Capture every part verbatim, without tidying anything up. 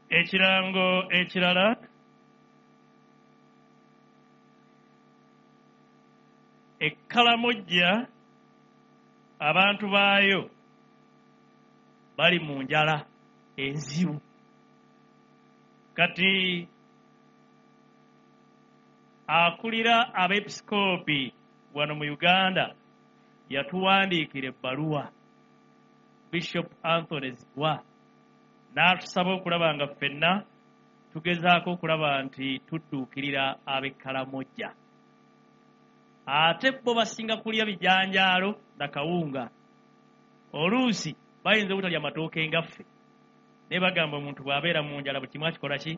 Ekirango ekirala, Ekkalamojja abantu baayo bali mu njala enzibu. Kati akulira abeepisikoopi wano mu Uganda yatuwandiikira ebbaluwa, Bishop Anthony Zziwa, n'atusaba okulaba nga ffenna tugezaako okulaba nti tudduukirira ab'Ekkalamojja. Ate bo basinga kulya bijanjaalo na kawunga, oluusi bayinza obutalya matooke ngaffe, naye bagamba omuntu bw'abeera mu njala buli kimu akikola ki?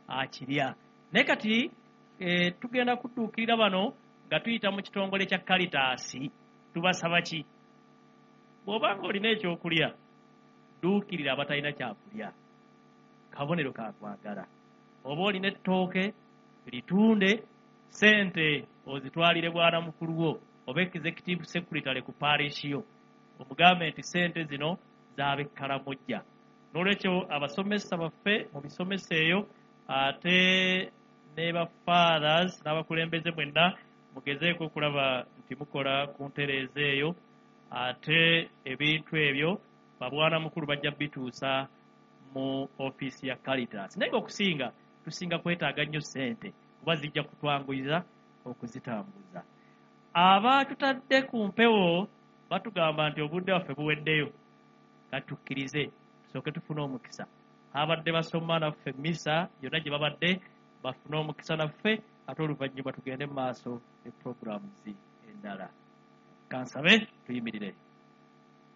Akirya. Naye kati e, tugenda kudduukirira bano nga tuyita mu kitongole kya Caritas. Tubasaba ki? Bw'oba ng'olina ekyokulya, dduukirira abatalina kyakulya, kabonero ka kwagala. Oba olina ettooke litunde, sente ozitwalire bwana mukulu wo oba executive secretary ku parish yo, omugambe nti sente zino z'ab'Ekkalamojja. N'olwekyo abasomesa baffe mu bisomesa eyo, ate ne ba fathers n'abakulembeze mwenna mugezeeko okulaba nti mukola ku ntereeza eyo, ate ebintu ebyo babwana mukulu bajja bituusa mu ofiisi ya Caritas. Naye ng'okusinga tusinga kwetaaga nnyo ssente, kuba zijja kutwanguyiza okuzitambuza. Abatutadde ku mpewo batugamba nti obudde bwaffe buweddeyo, katukkirize tusooke tufune omukisa. Abadde basoma naffe misa yonna gye babadde bafune omukisa naffe, ate oluvannyuma tugende mu maaso ne programs endala. Kansabe tuyimirire.